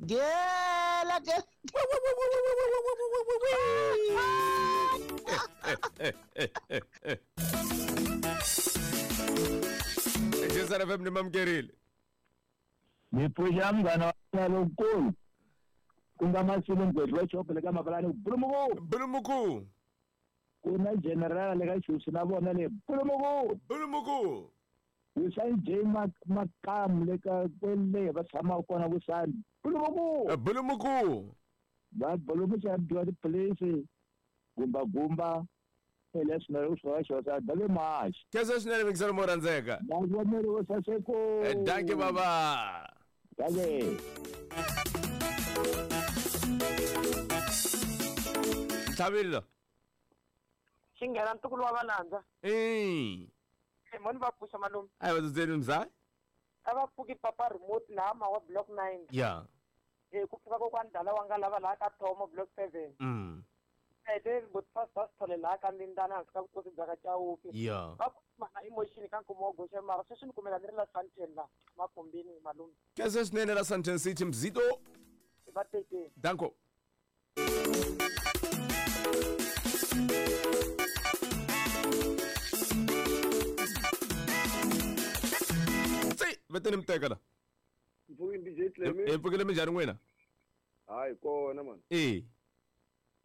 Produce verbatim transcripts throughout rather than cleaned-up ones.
Gela gela. J S R F M ni mamukerile. Ni pfuxa munghana wa lonkulu ku nga Masilo Mgwedli wa Chopo le ka Mabalani Bulumuku. Bulumuku. Ku na general le ka Chusi na vona le Bulumuku. Bulumuku. Wusani J Makamu le ka kwele va tshamaka kona Wusani Bulumuku. Bulumuku. Va bulumuxa dyiwa tipilisi gumba gumba eleswi swi xosa dale max. Khensa swinene mikiselo mo rhandzeka. Mavonelo wo saseko. Dankie baba. Dankie. Tlhavile. Xinghena ntukulu wa valandza. Eh. Moni va pfuxa malume. A va dzudzeni mzai. A va pfuki papa remote laha mawa block nine. Yeah. Eh ku pfuka kokwani dala wa nga lava laha ka Thomo block seven. Mm. Ete but first first thole laha ka Lindana hansi ka vukosi bya ka Chauke. Yeah. Va kuma emotion ka nkumo wa goxa mara sweswi ni kumeka ni ri la Sandton la makumbini malume. Khensa swinene la Sandton City Mzito. Va tekeni. Danko. Veteni mteka la. Mpfukile D J Clemi. E pfukile minjhani n'wina? Hayi kona man. Eh.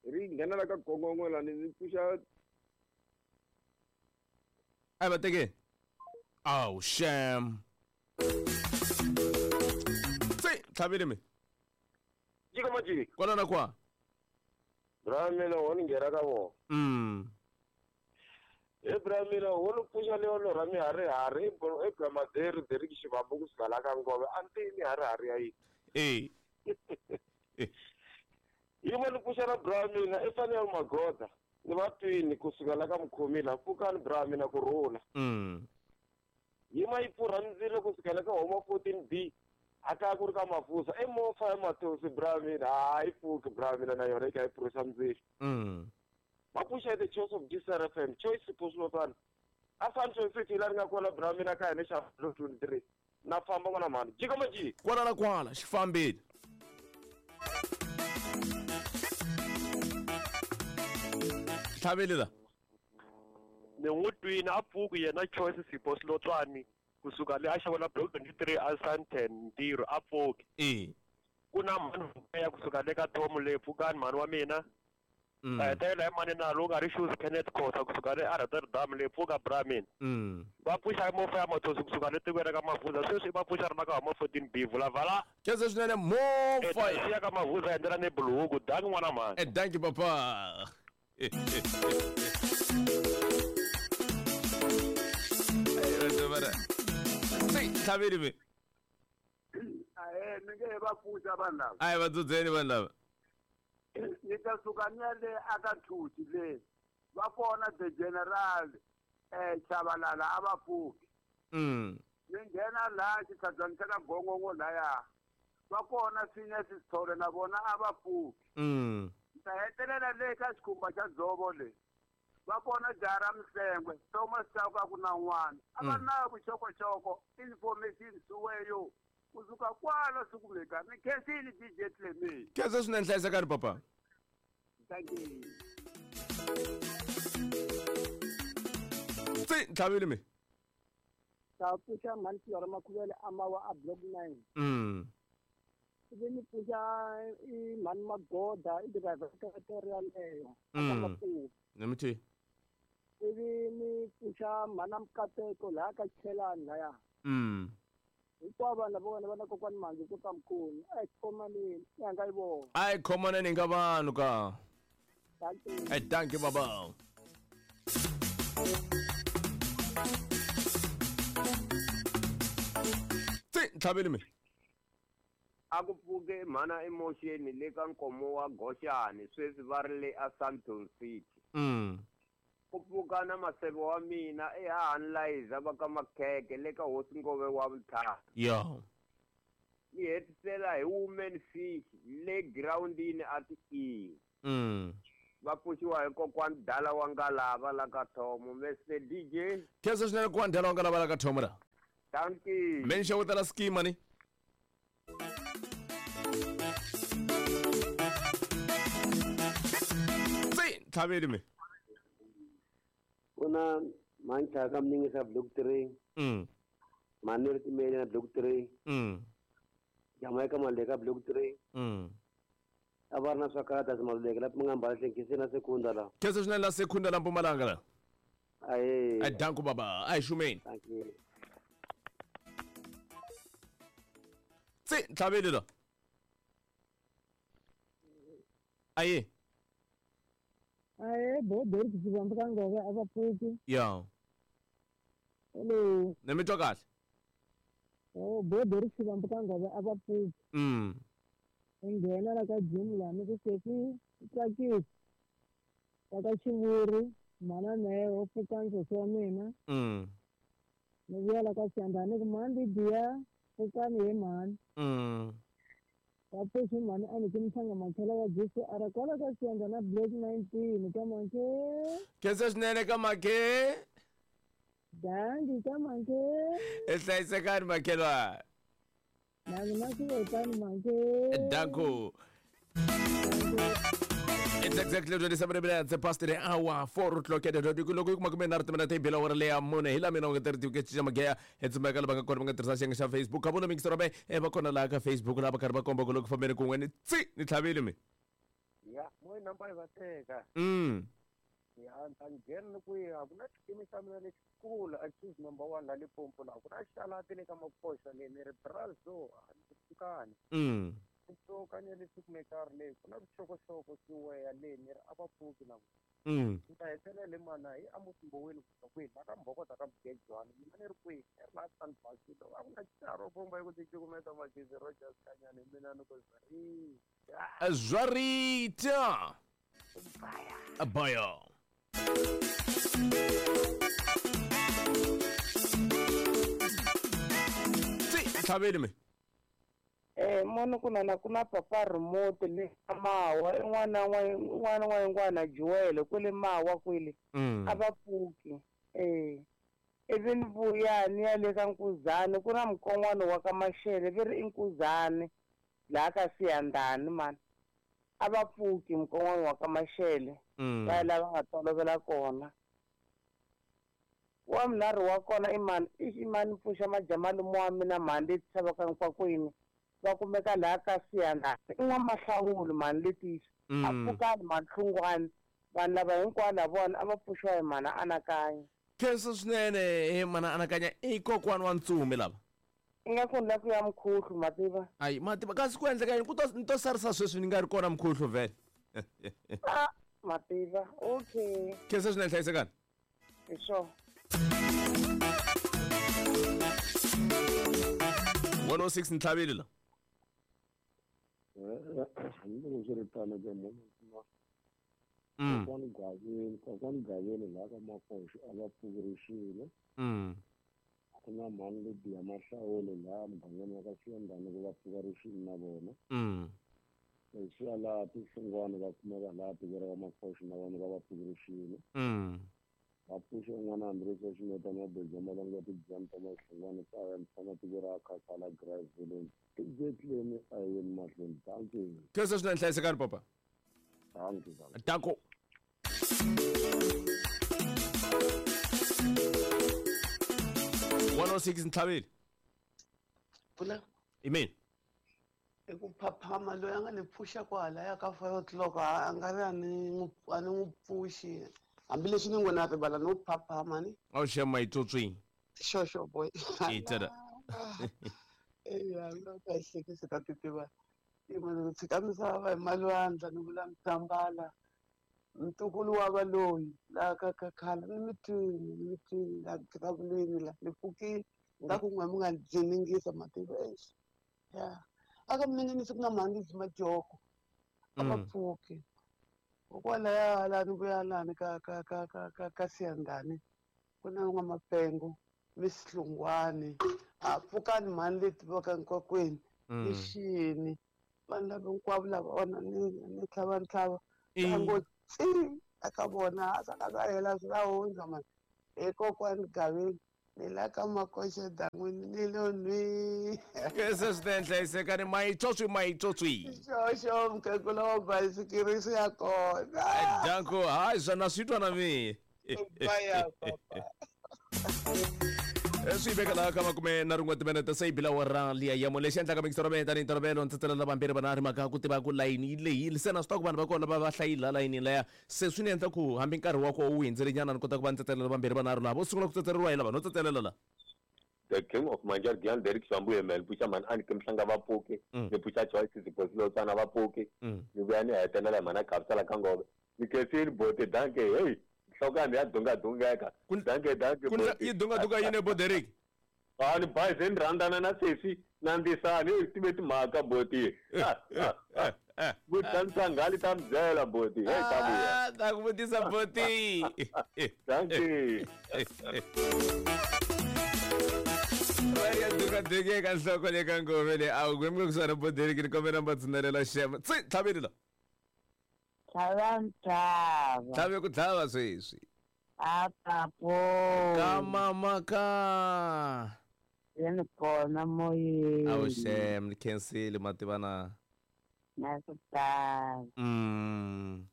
Ri nghena la ka gongongo la ni pfuxa. Ai va teke. Oh sham. Tsi, tlhavile mi. Jika majiki. Kona na kwa. Bramela wona nghena ka vona. Mm. Ebramila wona pfuxa leyo lorha miharihari ebramaderi Derek Xivambu kusuka la ka Ngove a ni miharihari ya yini. Eh. Yi vona pfuxa ra Bramila i fanele magoda ni va twini kusuka la ka Mukhomila pfukani Bramila ku rhula. Mm. Yima yi pfurha ndzilo kusuka la ka Homa fourteen B a ka ku ri ka Mafusa i mofa ya Matosi Bramila hayi pfuki Bramila na yona yi kha yi pfurhisa ndzilo. Mm. Mapusha the choice of D S R F M choice Puslotwana a Sandton City la ri nga kona Bramila ka hina xa twenty-three na famba n'wana mhani jika maji kwala na kwala xi fambile. Tlhavile la ni n'wi twini a pfuki yena Choice Sipho Silotswani kusuka le a xava block twenty-three a Sandton ntirho a pfuki. Eh. Ku na mhani ya kusuka le ka Thomo le pfukani mhani wa mina. Mm. Eh tela mani na loka ri shoes Kenneth Khosa kusuka le Rotterdam le pfuka Bramin. Mm. Va pfuxa mofa ya Matosi kusuka le tikweni ka Mavuza sweswi va pfuxa ri na ka Homa fourteen B vula vala. Khensa swinene mofa ya ka Mavuza endlela ni buluku danki n'wana mhani. Eh danki papa. Eh tlhavile mi. Ahe ni nge va pfuxa vanhu lava. Ai va dzudzeni vanhu lava. Ni ta suka ni ya le aka Thuti le va kona the general eh Chabalala a va pfuki. Mm. Ni nghena laha xitlhabyani xa ka Gongongo laya va kona Phineas Sithole na vona a va pfuki. Mm. Ni ta hetelela le ka xikhumba xa dzovo le va kona Jara Mhlengwe Thomas Chauke ku na n'wana a va na vuxokoxoko information suweyo kusuka kwala sikumeka ni khensini D J Clemi. Khensa swinene hlayisekani papa. Thank you. Tsi tlhavile mi. Ta pfuxa mhani Fiora Makhuvele a mawa a block nine. Mm. Ivi ni pfuxa i mhani Magoda i driver ka yaleyo. Mm. Nemithi. Ivi ni pfuxa mhana Mkateko laha ka Chelani laya. Mm. Hinkwavo vanhu lava vona va na kokwani Manzi ku ka Mkhulu a hi khomaneni i hanga yi vona. A hi khomaneni ka vanhu ka. Dankie. Eh dankie baba. Tsi tlhavile mi. A ku pfuke mhana emotion le ka nkomo wa Goxani sweswi va ri le a Sandton City. Mm. Ku pfuka na maseve wa mina ehahani Liza va ka Makheke le ka Hosi Ngove wa Vutlhari. Yeah. Ni hetisela hi woman fish le groundini a ti E. Mm. Va pfuxiwa hi kokwani Dala wa Ngalava la ka Thomo Mister D J. Khensa swinene kokwani Dala wa Ngalava la ka Thomo la. Dankie. Menxa wo tala schema ni. ntlhaveli mi. Kuna mancha ka mningisa block three. Mm. Manir timele na block three. Mm. Jamaica maleka block three. Mm. Avarna swakarata simaluleke lapho ngihamba kahle na sekunda la. Kese swinene la sekunda la Mpumalanga la. Aye. Ai danko baba, ai shumeni. Thank you. Tsi ntlhaveli la. Aye. Aye, bo bo ke tsibamba ka ngobe a ba phuti. Ya. Hello. Ne mi twa kahle. Oh, bo bo ke tsibamba ka ngobe a ba phuti. Mm. Nghena la ka gym la ni ku seki tsakisi ka ka xivuri mhana mehe pfuka nsoso wa mina. Mm. Ni vuya la ka Siyandhani ku mhani diya pfukani he mhani. Mm. Va pfuxi mhani a ni ki mhlanga makhela wa G C R kwala ka Siyandhana block nineteen ka Makhe. Khensa swinene ka Makhe. Dangi ka Makhe. E hlayisekani makhelwa. Danko. It's exactly twenty-seven minutes past the hour, four o'clock at the loko kuma kumbe na ri timina tebela wa leya mune hi la mina u nga tirhi ke cinca mageya hi tsumeka la va nga kona va nga tirhisa xiyenge xa Facebook ka vona mixero be e va kona laha ka Facebook laha va karhi va komba ku loko fambeni kun'we ni tsi ni tlhavile mi. Ya mo namba va teka. Mm. Ya ta nghena ni ku ya ku na xikimi xa mina lexikulu accused number one la Limpopo la ku na xalati le ka Makoxa le ni ri brazo a ni pfukani. Mm. Tsoka ni le kumeka ri le ku na vuxokoxoko siweya le ni ri a va pfuki na Mm. ni ta hetelela mana hi Amos Mboweni ku kwihi la ka Mbhokota ka Mgejwana mina ni ri kwihi ni ri la Sandbasilo a ku na xitaro bomba yi ku ticukumeta magezi Rogers Kanyane mina ni ku zwi Zwarita. Abaya. Tsi ntlhaveli mi. Eh mono kuna na kuna papa remote le mawa n'wana n'wana wa n'wana Joel kwele mawa kwele a va pfuki eh ivi ni vuya ni ya le ka Nkuzani ku na mukon'wana wa ka Mashele ve ri i Nkuzani laha ka Siyandhani mani a va pfuki mukon'wana wa ka Mashele va lava nga tolovela kona wa minharhu wa kona i mani i mani pfuxa majamalume wa mina mhani leti tshamaka nkwakwini va kumeka laha ka Siyandhani i n'wamahlawuli mhani letisa a pfukani mahlungwani vanhu lava hinkwavo lavona a va pfuxiwa hi mhana anakanya. Khensa swinene he mana anakanya i kokwani wa Ntsumi lava. Ingaku ni la ku ya mukhuhlu mativa. Ayi mativa kasi ku endleka yini ku to ni to sarisa sweswi ni nga ri kona mukhuhlu vhele. Ah mativa okay. Khensa swinene hlayisekani. Hi swona. one oh six ntlhaveli la. Hambiloko swi ri tano ke munhu Mm. Kokwani Gaveni kokwani Gaveni laha ka Makoxi a va pfukerixile. Mm. Ku na mhani lediya Mahlawule laha mugangeni wa ka Siyandhani ku va pfukerixile na vona. Mm. Leswiya laha Tihlungwana va kumeka laha tiko ra ka Makoxi na vona va va pfukerixile. Mm. Va pfuxe un'wana hambileswi a xineta mabeja malanga tidyani ta Mahlungwana kaya ni tshama tiko ra Khasala Grass Village. Exactly a yeni mahlweni. Thank you. Khensa swinene hlayisekani papa. Thank you. Danko. one oh six ntlhaveli. Pula. Amen. I ku phaphama loyi a nga ni pfuxa kwalaya ka five o'clock a nga ri a ni a ni n'wi pfuxi hambileswi ni n'wina rivala no phaphama ni. A wu xema yitsotswini. Sure sure boy. Itela. Eya nga ka hlekisa ta titiva. I munhu tshika misava hi malwandla ni vula mtambala ntukulu wa valoyi laha ka ka khala ni mitwini ni mitwini la vulavuleni la ni pfukile nga ku n'we mi nga dziningisa mativa exi ya aka miningisi ku na mhani dzi majoko a va pfuki kokwalaya lani vuya lani ka ka ka ka ka ka Siyandhani ku na n'wamapengo Miss Hlungwani a pfukani mhani leti va ka nkwakwini ni xini vanhu lava hinkwavo lava vona ni ni tlhava ntlhava va ngo tsi eka vona a swa ka swa hela swi ta hundza mani hi kokwani Gaveni Ni la ka Makoxe dan'wini ni lo nwi. Khensa swinene hlayisekani mayitswotswi mayitswotswi. Xoxo mukhegula wa bayisikiri swi ya kona. Danko hayi swona swi twa na mina. Baya papa. Swi veka laha ka makume na rin'we timinete se yi bila wara liya ya lexi endlaka mixero va tanihi ntolovelo ndzi tselela vambirhi vanharhu mhaka ku tiva ku layini yi lehile se na swi tiva ku vanhu va kona va va hlayile laha layini leya se swi ni endla ku hambi nkarhi wa koho wu hundzile nyana ni kota ku va ndzi tsetselela vambirhi vanharhu laha vo sungula ku tsetseleriwa hi lava no tsetselela la. The King of Manjar Gian Derek Shambu Emel Puxa man ani Kimhlanga va pfuki ni Puxa Choice Siphosilotswana va pfuki ni vuya ni hetelela hi mhana Khabisala ka Ngove ni khensile bote danke hey nhloko ya mina ya dungadungeka danke danke yi dungadunga yini bo Derek a ni bazi ni rhandzana na sesi na ndzisani hey tive timhaka boti vutisa ngali ta mi byela boti hey ta vuya ta ku vutisa boti danke ya dungadungeka nhloko le ka Ngove le a wu kwembe kusuhana bo Derek ni kombela mi va tshunelela xema tsi tlhaveni la. Tlhava ntlhava. Tlhave ku tlhava sweswi. A papo. Ka mama ka. Yini kona moyeni. Awu xem ni khensile mativa na. Na ku tala. Mm.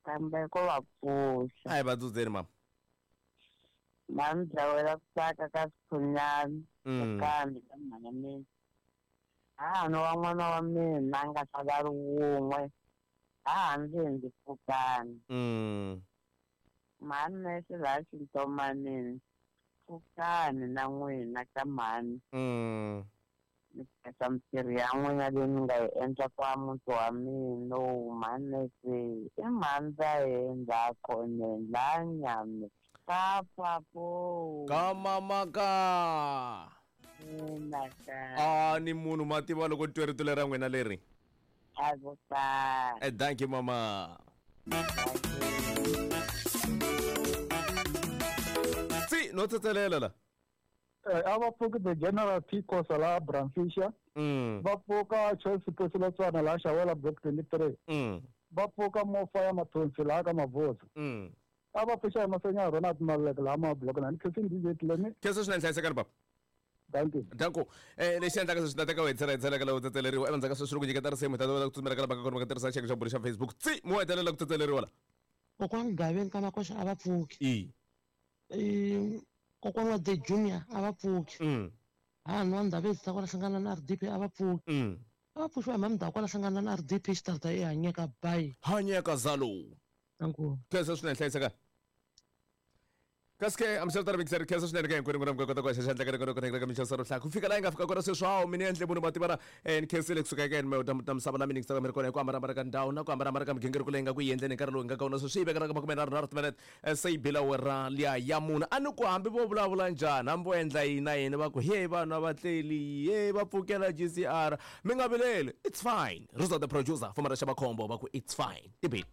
Kambe ko va pfuxa. A hi va dzudzeni mama. Va ni dlawela ku tsaka ka swikhunyana. Mm. Kambe ka mhana mina. Ha no wa n'wana wa mina a nga ta va ri wun'we. A ndzi ndzi pfukani. Mm. Mhani nese laha xintomanini pfukani na n'wina ka mhani. Mm. Ni khensa mintirho ya n'wina leyi mi nga yi endla kwa muti wa mina lowu mhani nese i mhani va hindza khoneni laha nyame ka papo. Ka mama ka. Mina ka. A ni munhu mativa loko twe rito lera n'wina leri. Eh, thank you mama. Si no tsetselela la. Eh, a va pfuki the General P Khosa la Bramfisher. Mm. Va pfuka Choice Siphosilotswana la Xawela Block twenty-three. Mm. Va pfuka Mofa ya Mathonsi la ka Mavoza. Mm. A va pfuxa hi Masenya Ronald Maluleke la ma block na ni khensini D J Tlemi. Khensa swinene hlayisekani papa. Thank you. Danko. Eh lexi endlaka sweswi ta teka wetsela etsela ka lawo tsetseleriwa endzhaku ka sweswi loko nyiketa risimu ta ta ku tsutsumela ka lava ka kona va tirhisa xiyenge xa bulo xa Facebook tsi mo hetelela ku tsetseleriwa la. Kokwani Gaveni ka Makoxa a va pfuki. I. Eh kokwana wa The Junior a va pfuki. Mm. Ha nwa Ndabezi ta kwala hlangana na R D P a va pfuki. Mm. A va pfuxiwa hi Mamda kwala hlangana na R D P xitarta e hanyeka bayi. Hanyeka zalo. Danko. Khensa swinene hlayiseka. Kaske amshelta mixer khensa swinene ka hinkwenu n'wina mi kota ku haxa xandla ka rikona ka mixer ro ku fika laha yi nga fika kona sweswi hawu mina endle munhu mativana ni khensile kusuka eka yena ta ta misava la mina mi ri kona hi ku hambanahambana ka ndhawu na ku hambanahambana ka migingiriko leyi nga ku yi endleni hi nkarhi lowu hi nga ka wona sweswi yi veka ka makume nharhu nharhu timinete se yi bila wera liya ya munhu a ni ku hambi vo vulavula njhani hambi vo endla yini na yini va ku hey vanhu a va tleli hey va pfukela G C R mi nga vileli it's fine Rosa the producer fuma ra xava khombo va ku it's fine tibini.